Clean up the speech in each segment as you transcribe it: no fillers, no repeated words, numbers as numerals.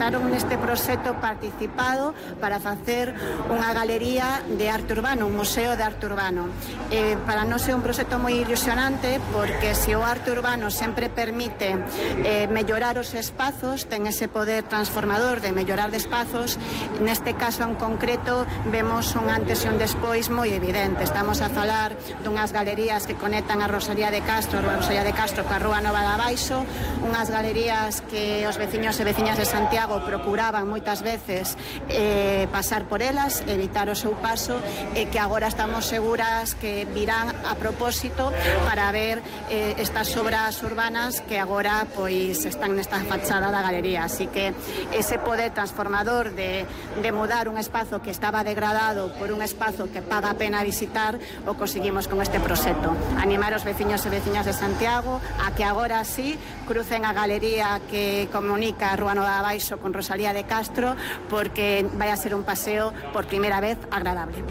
aceptaron neste proxecto participado para facer unha galería de arte urbano, un museo de arte urbano. Para nós é un proxecto moi ilusionante porque se o arte urbano sempre permite mellorar os espazos, ten ese poder transformador de mellorar de espazos, neste caso en concreto vemos un antes e un despois moi evidente. Estamos a falar dunhas galerías que conectan a Rosalía de Castro coa Rúa Nova de Abaixo, unhas galerías que os veciños e veciñas de Santiago procuraban moitas veces pasar por elas, evitar o seu paso, e que agora estamos seguras que virán a propósito para ver estas obras urbanas que agora pois están nesta fachada da galería. Así que ese poder transformador de mudar un espazo que estaba degradado por un espazo que paga a pena visitar o conseguimos con este proxecto. Animar os veciños e veciñas de Santiago a que agora sí crucen a galería que comunica a Rúa Nova de Abaixo con Rosalía de Castro, porque vai a ser un paseo por primeira vez agradable.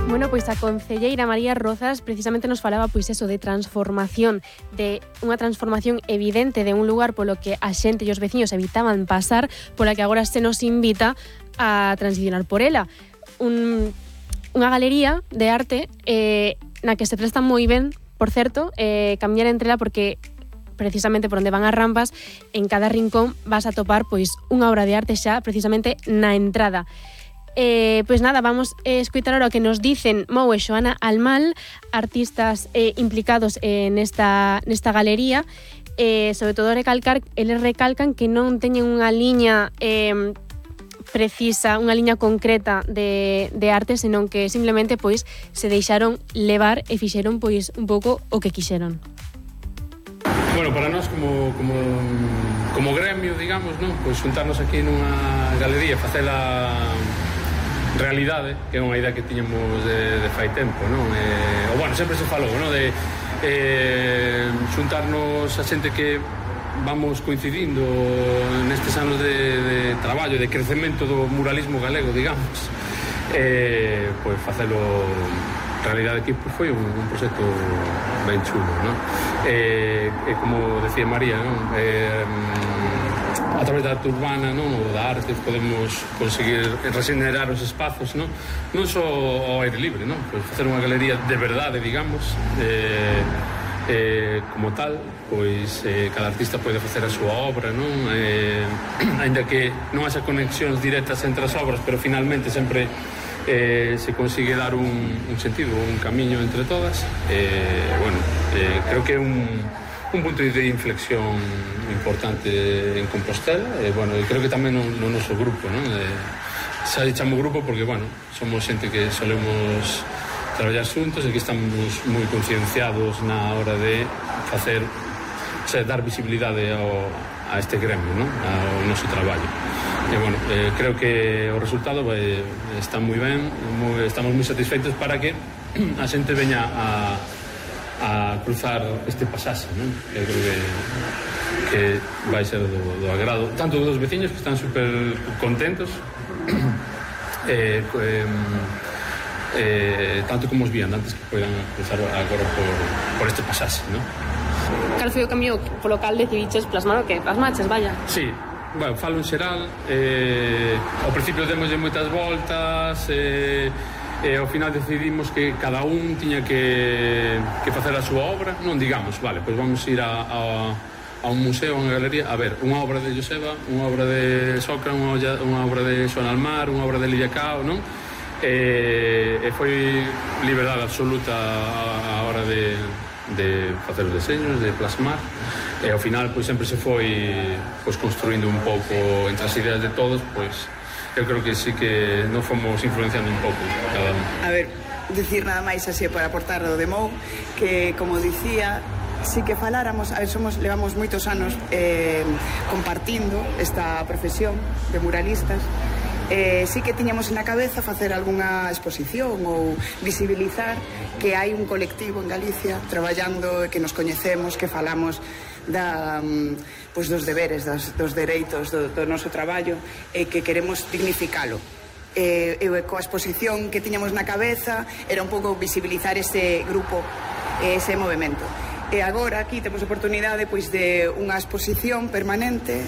Bueno, pois a concelleira María Rozas precisamente nos falaba pois eso de transformación, de unha transformación evidente de un lugar polo que a xente e os veciños evitaban pasar, pola que agora se nos invita a transicionar por ela. Unha galería de arte na que se presta moi ben, por certo, camiñar entre ela, porque precisamente por onde van as rampas, en cada rincón vas a topar pois unha obra de arte xa precisamente na entrada. Pois nada, vamos a escutar ahora o que nos dicen Mou e Xoana Almal, artistas implicados nesta galería. Sobre todo eles recalcan que non teñen unha liña precisa, unha liña concreta de arte, senón que simplemente pois se deixaron levar e fixeron pois un pouco o que quixeron. Bueno, para nós como gremio, digamos, non? Pois xuntarnos aquí nunha galería, facela realidade, que é unha idea que tiñamos de fai tempo, non? O bueno, sempre se falou, non? De xuntarnos a xente que vamos coincidindo nestes anos de traballo, de crecemento do muralismo galego, digamos, pois facelo realidade aquí foi un proxecto ben chulo, non? Como decía María, non? A través da arte urbana, non? Ou da arte podemos conseguir regenerar os espazos, non? Non só ao aire libre, non? Pois facer unha galería de verdade, digamos, como tal, pois cada artista pode facer a súa obra, non? Ainda que non haxa conexións directas entre as obras, pero finalmente sempre se consigue dar un sentido, un camiño entre todas. Bueno, creo que é un punto de inflexión importante en Compostela, bueno, creo que tamén no noso grupo, non? Xa chamo grupo porque, bueno, somos xente que solemos traballar xuntos e que estamos moi concienciados na hora de facer, o sea, dar visibilidade a este gremio, non? Ao noso traballo. E, bueno, creo que o resultado está moi ben, estamos moi satisfeitos para que a xente veña a cruzar este pasaxe, non? Eu creo que vai ser do agrado tanto dos veciños, que están super contentos, tanto como os viandantes que poidan cruzar agora por este pasaxe, non? Cal foi o cambio polo cal decidiches plasmar o que plasmaches, vaya? Sí, bueno, falo en xeral, ao principio demoslle moitas voltas, ao final decidimos que cada un tiña que facer a súa obra, non digamos, vale, pois vamos ir a un museo, a unha galería, a ver, unha obra de Joseba, unha obra de Socra, unha obra de Xoana Almar, unha obra de Lidia Cao, non? E foi liberdade absoluta a hora de facer os deseños, de plasmar, e ao final pois sempre se foi pois construindo un pouco entre as ideas de todos, pois eu creo que sí que nos fomos influenciando un pouco cada un. A ver, decir nada máis así para aportar o de Mou, que como dicía, sí que faláramos, a ver, levamos moitos anos compartindo esta profesión de muralistas. Sí que tiñamos na cabeza facer algunha exposición ou visibilizar que hai un colectivo en Galicia traballando, que nos coñecemos, que falamos pois dos deberes, dos dereitos do noso traballo, e que queremos dignificalo. Coa exposición que tiñamos na cabeza era un pouco visibilizar ese grupo, ese movimento. E agora aquí temos oportunidade pois de unha exposición permanente